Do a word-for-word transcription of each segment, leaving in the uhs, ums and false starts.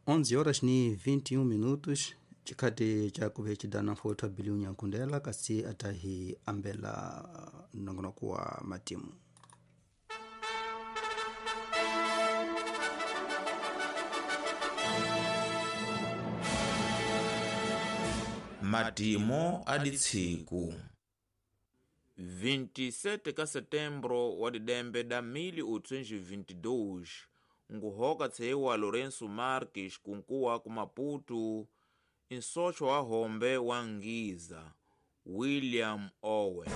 onze horas ni vinte e um minutos chikhati chakuve chidana mfotho abiliu nyankundela kasi atahi ambela nongonoko wa matimu. Matimo aditsiku vinte e sete ka setembro wa didembe da mil oitocentos e vinte e dois, nguhoka tseiwa Lourenço Marques kunkuwa ku Maputo, nsocho wa hombe wa Ngiza William Owen.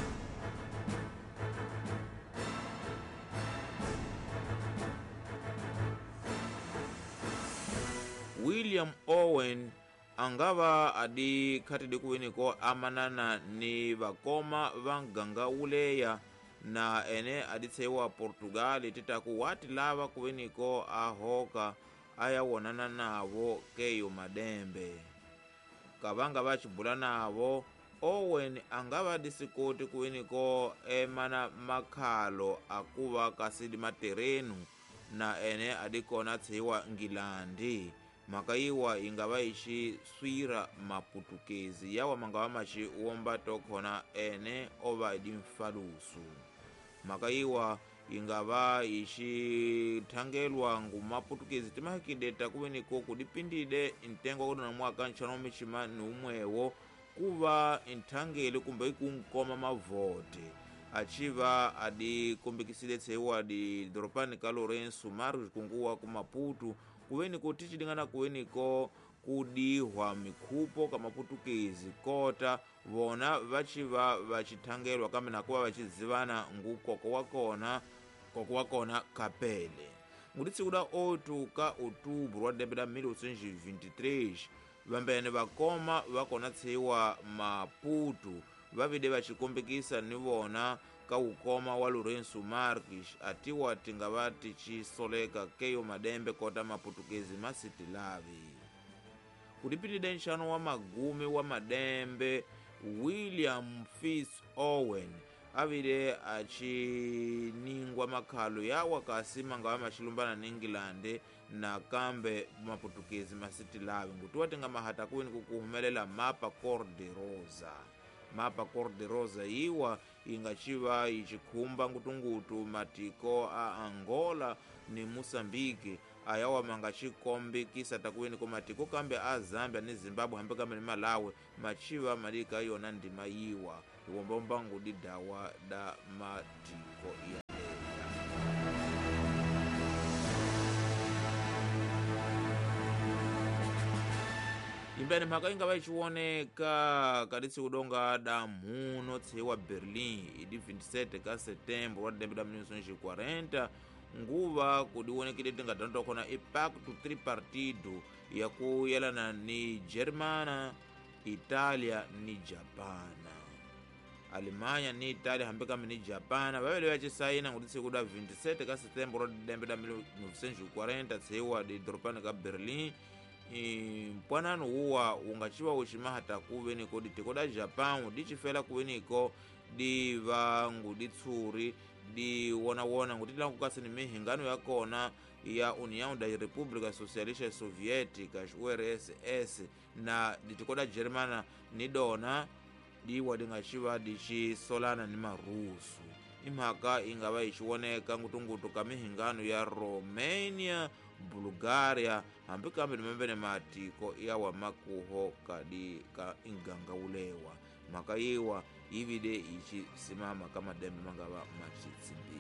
William Owen angava adi khatidi kuweniko amanana ni vakoma va nganga uleya na ene aditseiwa Portugal titaku wati lava kuweniko ahoka aya wonana navo keyo madembe. Kavanga vachibula navo Owen angava adisikoti kuweniko emana makhalo akuva kasidi materenu na ene adikona tseiwa Ngilandi. Makaiwa ingava ichi swira maputukezi yawa mangava machi uomba tokhona ene ova idi mfalusu. Makaiwa ingava ichi thangelwa ngu maputukezi timahikide takuweniko kudipindide ntengo kudona mwaka nchano michima ni umwewo kuva nthangeli kumbe ikunkoma mavote. Achiva adi kumbikisile tseiwa adi doropani ka Lourenço Marques kunguwa ku Maputo kuweniko tichidingana kuweniko kudihwa mikhupo ka maputukezi kota vona vachiva vachithangelwa kambe nakuva vachizivana ngukoko wa kona koko wa kona kapele. Nguditsiku da oito ka outubro wa dembe da mil oitocentos e vinte e três, vambene vakoma vakona tseiwa Maputo vavide vachikombekisa ni vona ka ukoma wa Lourenço Marques atiwa tingava tichisoleka keyo madembe kota maputukezi masitilavi. Kudipitide nxano wa magume wa madembe William Fitz Owen avile achiningwa makhalo yawa kasi mangava machilumbana ni England na kambe maputukezi masitilavi ngutiwa tinga mahata kuweni kukuhumelela mapa cor de rosa. Mapa cor de rosa iwa ingachiva ichikhumba ngutungutu matiko a Angola ni Moçambique ayawa mangachikombekisa takuweni ko matiko kambe a Zambia ni Zimbabwe hambe kambe ni Malawi machiva malika yona ndima yiwa iwombomba ngudidawa da matiko ya. Imbene mhaka ingava ichiwoneka kaditsi kudonga da mhuno tseiwa Berlin idi vinte e sete ka setembro wa dembe da mil novecentos e quarenta nguva kudiwonekile tingadanto khona i pacto tripartido ya kuyelana ni Germana, Italia ni Japana. Alemanha ni Italia hambe kambe ni Japana vavele vachisaina ngutitsi kuda vinte e sete ka setembro wa dembe da mil novecentos e quarenta tseiwa di doropani ka Berlin. Mpwanano uwa ungachiwa uchimahata kuveniko ditiko da Japão dichifela kuveniko divangu ditsuri diwonawona ngutilangu kasi ni mihingano yakona ya União da República Socialista Soviética U R S S na ditiko da Germana ni dona diwa dingachiwa dichisolana ni Marusu. Imhaka ingava ichiwoneka ngutungutu ka mihingano ya Romania, Bulgaria hambi kambe ni membene matiko yawa makuho kadi ka inganga ulewa mhaka yiwa ivide ichisimama kama dembe mangava machitsimbi.